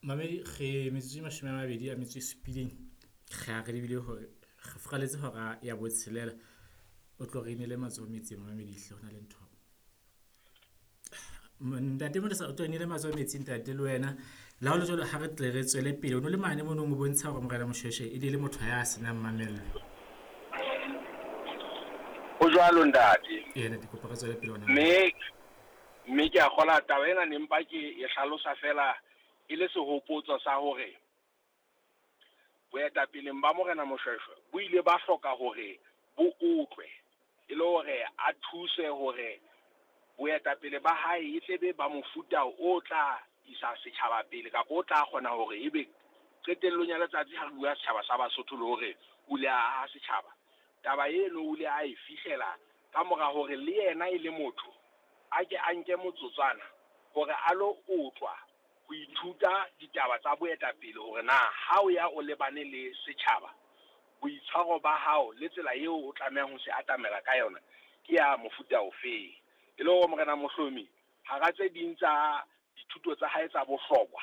Mamedi re metsotso e 27, re a re lebile hore re furaletse hora ya botshelela. O tlo re inele matsoho metsing mamedi hle hona le ntho. Ntate Modisa o tlo inele matsoho metsing ntate le wena. Le ha ho le jwalo, ha re tle re tswele pele. O no le mane monong o bontsha hore Morena Moshweshwe e ne le motho ya senang mamello. Ho jwalo ntate. Ee ntate, kopa re tswele pele hona. Mme ke a kgola taba ena ne mpa ke e hlalosa fela e le sehopotso sa hore boetapeleng ba Morena Moshweshwe bo ile ba hloka hore bo otlwe e le hore a thuse hore boetapele ba hae e tlebe ba mofuta o tla isa setjhaba pele kapa o tla kgona hore ebe qetellong ya letsatsi ha re bua setjhaba sa Basotho le hore o ile a aha setjhaba. Taba eno o ile a e fihlela ka mora hore le yena e le motho a ke a nke motsotswana hore a lo otlwa ho ithuta ditaba tsa boetapele hore na ha o ya o lebane le setjhaba, boitshwaro ba hao le tsela eo o tlamehang ho se atamela ka yona ke ya mofuta ofeng. E le hore Morena Mohlomi hara tse ding tsa dithuto tsa hae tsa bohlokwa,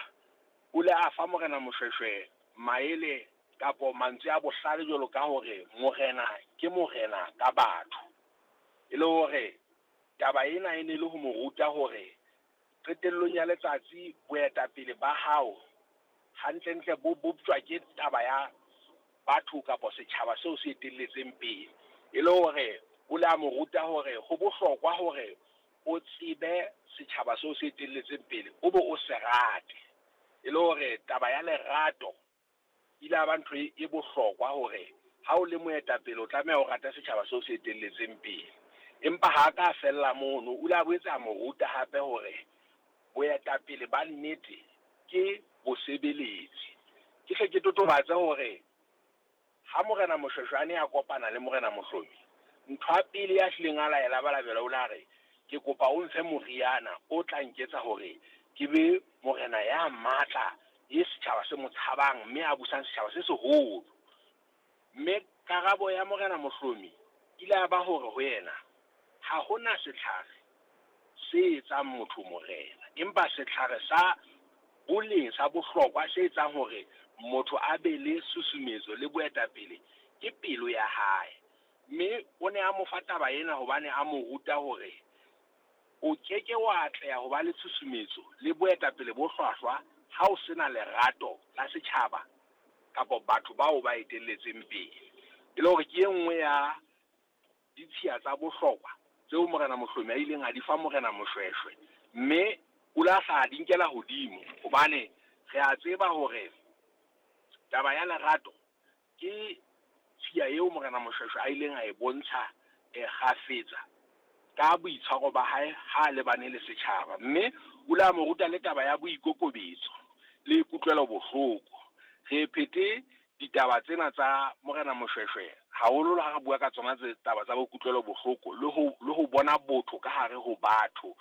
o ile a fa Morena Moshweshwe maele kapo mantswe a bohlale jwalo ka hore morena ke morena ka batho. E le hore taba ena e ne le ho mo ruta hore qetellong ya letsatsi boetapele ba hao hantlentle bo boptjwa ke taba ya batho kapa setjhaba seo se etelletseng pele. E le hore o le a mo ruta hore ho bohlokwa hore o tsebe setjhaba seo se etelletseng pele, o be o se rate. E le hore taba ya lerato ile ya ba ntho e bohlokwa hore ha o le moetapele o tlameha o rate setjhaba seo se etelletseng pele. Empa ha ka fella mono, o ile a boetse a mo ruta hape hore boetapele ba nnete ke bosebeletsi. Ke hle ke totobatse hore ha Morena Moshweshwe a ne a kopana le Morena Mohlomi, ntho ya pele ya hlileng a laela balabela o la re, ke kopa o mfe moriana o tla nketsa hore ke be morena ya matla e setjhaba se mo tshabang mme a busang setjhaba se seholo. Mme karabo ya Morena Mohlomi ile ya ba hore ho yena ha hona setlhare se etsang motho morena, empa setlhare sa boleng sa bohlokwa se etsang hore motho a be le susumetso le boetapele ke pelo ya hae. Mme o ne a mo fa taba ena hobane a mo ruta hore o keke wa atleha ho ba le tshusumetso le boetapele bo hlwahlwa ha o sena lerato la setjhaba kapa batho bao ba etelletseng pele. E le hore ke e nngwe ya ditshiya tsa bohlokwa tseo Morena Mohlomi a ileng a di fa Morena Moshweshwe, mme o la hla di nkela hodimo hobane re a tseba hore taba ya lerato ke tshiya eo Morena Moshweshwe a ileng a e bontsha kgafetsa ka boitshwaro ba hae ha lebane le setjhaba. Mme o ile a mo ruta le taba ya boikokobetso le kutlwelo bohloko. Re phete ditaba tsena tsa Morena Moshweshwe haholo ha re bua ka tsona tse taba tsa bokutlwelo bohloko le ho bona botho ka hare ho batho.